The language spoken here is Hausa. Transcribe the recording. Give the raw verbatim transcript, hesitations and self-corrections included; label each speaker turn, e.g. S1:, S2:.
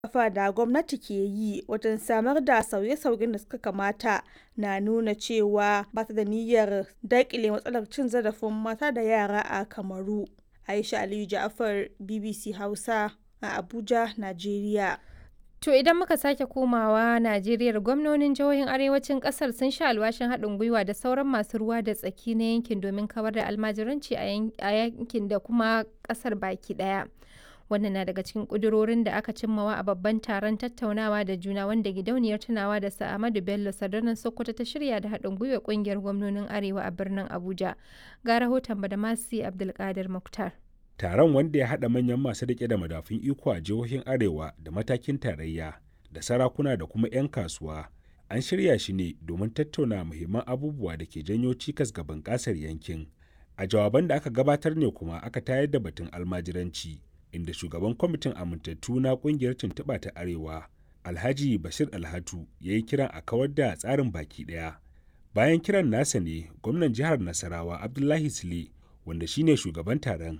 S1: Kafa da gwamnati ke yi wajen samar da sauye-sauyen da suka kamata na nuna cewa ba ta da niyyar daƙile matsalar cin zarafin mata da yara a Kamaru. Aisha Aliyu Ja'far, B B C Hausa a Abuja, Najeriya.
S2: To idan muka sake komawa Najeriya, gwamnonin jihohin arewacin kasar sun sha alwashin haɗin gwiwa da sauran masu ruwa da tsaki na yankin domin kawar da almajiranci a yankin da kuma kasar baki ɗaya. Wannan na daga cikin ƙudurorin da aka cimmawa a babban taron tattaunawa da juna wanda gidauniyar tunawa da Sir Ahmadu Bello Sardaunan Sokoto ta shirya da haɗin gwiwa ƙungiyar gwamnonin Arewa a birnin Abuja. Ga rahoton Badamasi Abdulkadir Muktar.
S3: Taron, wanda ya haɗa manyan masu riƙe da madafun iko a jihohin Arewa da matakin tarayya da sarakuna da kuma 'yan kasuwa, an shirya shi ne domin tattauna muhimman abubuwa da ke janyo cikas ga bunƙasar yankin. A jawaban da aka gabatar ne kuma aka tayar da batun almajiranci, inda shugaban kwamitin amintattu na ƙungiyar tuntuɓa ta Arewa, Alhaji Bashir Alhatu, ya yi kiran a kawar da tsarin baki ɗaya. Bayan kiran nasa ne gwamnan jihar Nasarawa, Abdullahi Sule, wanda shine shugaban taron,